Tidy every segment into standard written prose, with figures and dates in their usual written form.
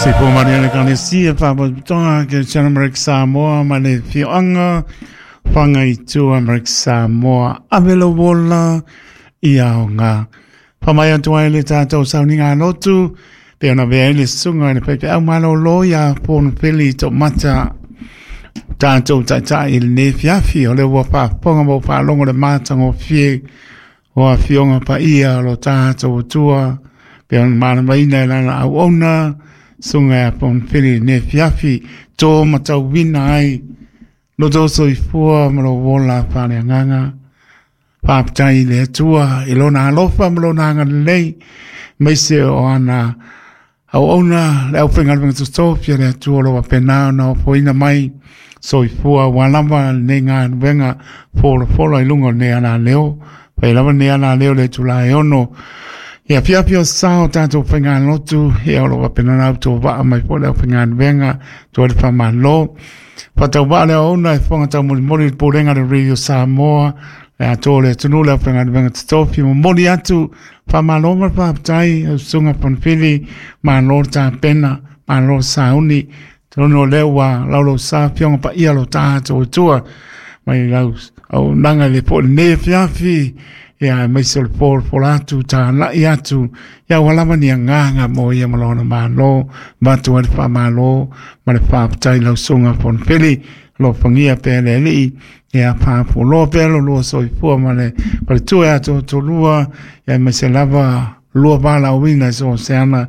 Se po maria le kalesia whapaputonga ke Channel America Samoa ma le fioanga whangaitua America Samoa avelo wola i aonga. Whamai atu ai le tātou sauninga lotu, pe ona vea le sunga le pepe au malo lo ia pōnu peli tō mata tātou taitai i le fiafi o le ua whaafonga mo whaalongo le mātanga o fie o a fionga pa ia lo tātou tua pe ona mana maina e lana au ona sunga e pōnu peli ne fiafi tō matau wina ai lo tō soifua ma lo wola whare nganga. Whāpitai le atua i lona alofa ma lona anga lelei maise o ana au ona le au whenga lenga totopia le atua lo wapena na o poina mai soifua walama ne ngā wenga fōla fōla i lunga ne ana leo whai lava ne ana leo le tula e ono ia pia pia sao tātou whenga lotu ia o lo wapena na tō waa mai po le au whenga wenga tō le whamalo whatau waa le ona e whanga tau mori mori pōrenga le Radio Samoa le atoa le atunuu le aufaigaluega totofi momoli atu faamalo ma le faafetai au susuga Panfili malo le tapena malo le sauni tonu o lea ua laulausa afioga paia lo tatou Atua mai lau auaunaga i le po lenei afiafi ia aemaise o le folafola atu talai atu ia ua lava ni agaga mo ia ma lona malo avatu ai le faamalo ma le faafetai i lau susuga Panfili alofagia pea le Alii, ia faafualoa pea lo lua soifua ma le faletua ia toatolua, ia aemaise lava lua valaauina i so o se ana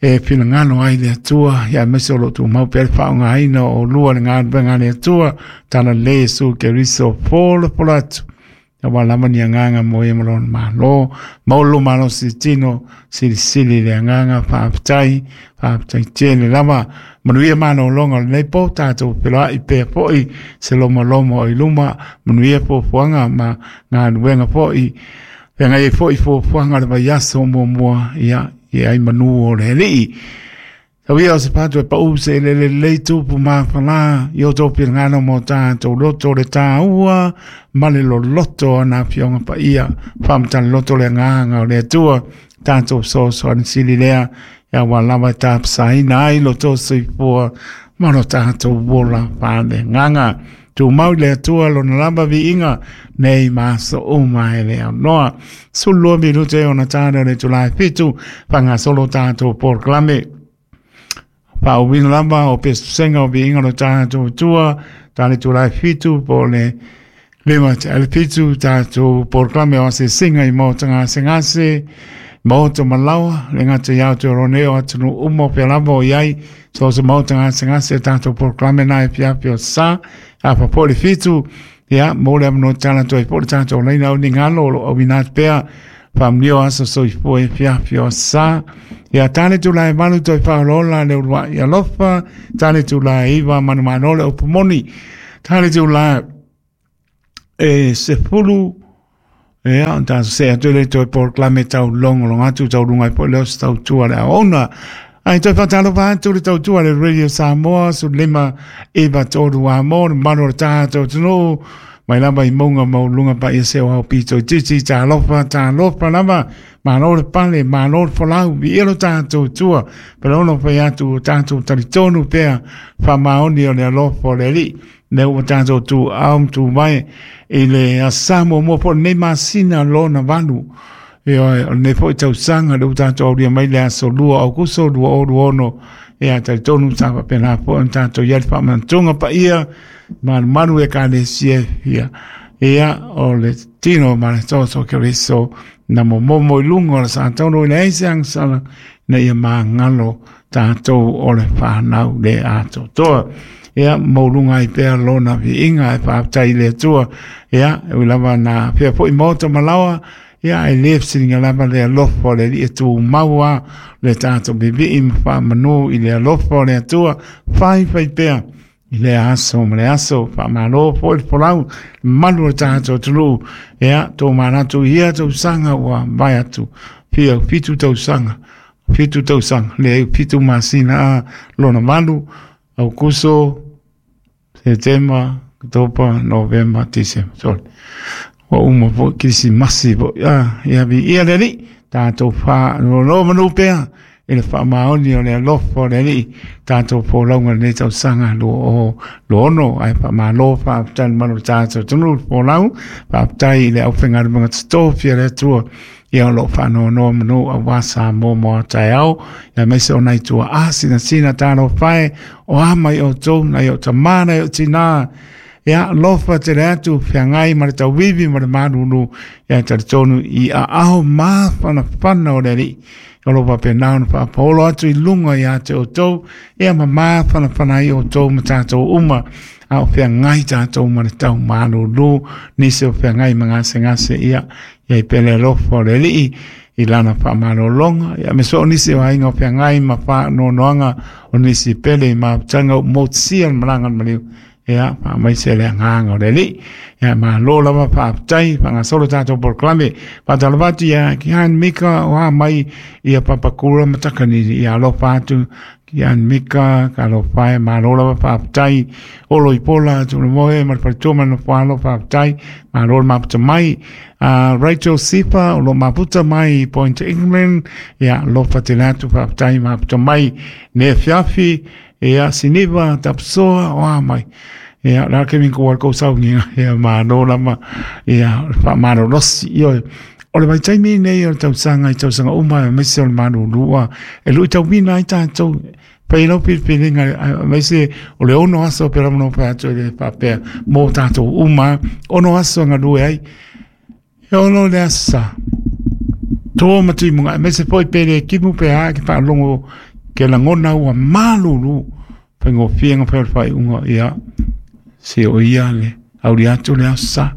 e finagalo ai le Atua, ia aemaise o lo o tumau pea le faaaogaina o lua le galuega a le Atua, talalelei Iesu Keriso folafola atu. Aua lava ni agaga mo ia ma lona malo, maua lo malosi tino, silisili le agaga, faafetai, faafetai tele lava. Manuia malologa o lenei po, tatou feloai pea foi se lomolomo i luma, manuia fuafuaga ma galuega foi, feagai ai foi fuafuaga o le vaiaso muamua, ia, ia ai manu o le Alii. Tau ia o se patu e pau se elele lelei tupu mafala i o tō finagalo mō tātou loto le tāua ma le loloto a nā fionga paia whamatala loto le agaga o le Atua tātou fesoasoani sili lea ia ua lava e tāpasaina ai lo tō soifua ma lo tātou ola faaleagaga. Tumau i le Atua lona lava viiga nei ma aso uma e le aunoa. 12 minute ona tāne o le itula e 7, whangasolo tātou porokalame. Whaowina lava o pesusenga o viiga lo tātou Atua, tā le itula e 7 po le lima te ale 7 tātou porokalame o asesinga i maota gasegase, maota malawa, le ngata i Aotearoa nei o atunuu uma o pea lava o iai, so o se maota gasegase tātou porokalame nā e fiafia o sa, a pa le 7, ia, mo le avanoa tala atu ai foi le tātou laina au ni ngalo o lo auina atu pea, whaamnio aso soifua e fiafia o sa. Ia tāne tū la e 8 toi whaolola le urua i alofa, tāne tū la e 9 manumano le upu moni, tāne tū la e 10, ia, tātou se atu le toi porokalame tau longolongo atu, tau runga i po leo se tau tua le aona. Ai toi whatalofa atu le tau tua le Radio Samoa, su lima iwa tōru a mō, le manu o le tātou atunuu, mai lava i maunga maualuluga pa ia se o ao pito i titi, talofa, talofa lava, malo le pale, malo le folau, viia lo tātou tua, pele ono whai atu o tātou talitonu pea, whamaoni o le alofa o le Alii, lea ua tātou tū ao ma tū mai i le asa muamua po o lenei masina lona 8. Ioe, o lenei foi tausaga lea ua tatou aulia mai le aso 2 o Aokuso 2026, ia talitonu sa faapena foi ona tatou i ai le faamanatuga paia malumalu e Ekalesia e fia. Ia, o le tino ma le toto o Keriso na momomo i luga o le satauro i leai se agasala ina ia magalo tatou o le whanau le atoatoa. Ia, mauluga ai pea lona viiga e faafetai i le Atua. Ia, e ui lava na fea foi maota ma laoa, ia, e le fesiliga lava le alofa o le Alii e tumau lava le tatou vivii ma faamanu i le alofa o le Atua, faifai pea i le aso ma le aso, faamalo foi le folau, le mamalu o le tatou atunuu. Ia, tō manatu i ia tausaga ua vae atu, fia 7 tausaga, 7 tausaga, le 7 masina a lona 8, Aukuso, Setema, Oketopa, Novema, Tisema, sorry. Ua uma foi Kirisimasi foi, ah, ia viia le Alii, tatou wha, no manu pea, i le faamaoni o le alofa o le Alii tatou folauga lenei tausaga 2026. Ae faamalo faafetai le malu o le tatou atunuu i le folau, faafetai i le aufaigaluega totofi a le Atua ia o lo o faanoanoa manu aua Samoa mo a taeao, aemaise o nai tuaa sinasina talofa e, o a mai outou, nai o tamā nai o tinā, ia alofa tele atu feagai ma le tauivi ma le malulu, ia talitonu i aao mafanafana o le Alii o lo o faapena ona faapaolo atu i luga ia te outou, ia ma mafanafana ai outou ma tatou uma, a o feagai tatou ma le tau malulu, nisi o feagai ma gasegase, ia i pea le alofa o le Alii i lana faamalologa, ia me so o nisi o aiga o feagai ma faanoanoaga o nisi pele i mafutaga o motusia le malaga a le maliu, ia faamaise le agaga o le Alii. Ia malo lava faafetai, faagasolo tatou polokalame. Faatalofa atu ia Kian Mika o a mai ia Papakura ma Takanini, ia alofa atu Kian Mika, ka alofa e, malo lava faafetai. Olo i pola atu le moe ma le faletua ma le nofoalo, faafetai, malo le maputa mai. Rachel Sifa o lo maputa mai Point England, ia alofa tele atu faafetai maputa mai ne fiafi, ia Siniva Tapsoa o a mai. Ia la ke min ko ko saungi ia malo lava ia faamalolosi ia o le vaitaimi nei o le tausaga i tausaga uma aemaise o le malulua e luitauina ai tatou fai lau filifiliga aemaise o le 6 aso pe lava no fai atu e le faapea mo tatou uma 6 aso e galue ai e ono le asa toa ma timuga aemaise foi pe le kimu pe a ke faalogo ke lagona ua malulu faigofie ga fai o le faaiuga ia se o ia le auli atu le asa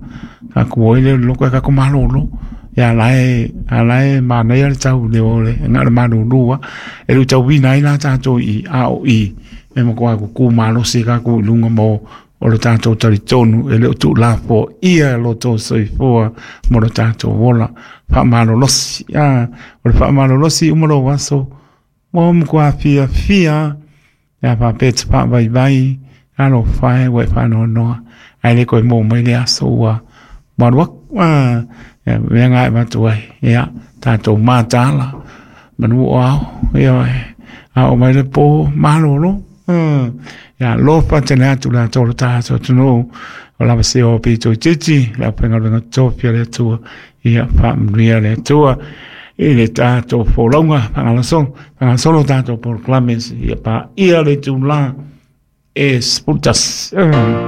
ka ku oi le loko e ka ku malolo ia alae manaia le tau le o le nga le malulua e lu tau wina ai la tatou i a o i e mo kwa ku malosi ka ku lunga mo o le tatou talitonu e le o tuulafo ia lo tō soifua mo le tatou ola faamalolosi. O le faamalolosi uma lou aso ua matua fiafia ia faapea te faavaivai alofa e ua e faanoanoa ae le koe mo mai le aso ua malu aku. Ia mea nga e avatu ai ia tatou mataala manu o ao ia a o mai le pō malolo. Ia alofa tele atu le atoa o le tatou atunuu o lava se o pito i titi le aufaigaluega totofi a le Atua ia faamanuia le Atua i le tatou folauga faagasolo tatou polokalame ia paia le itula e 11.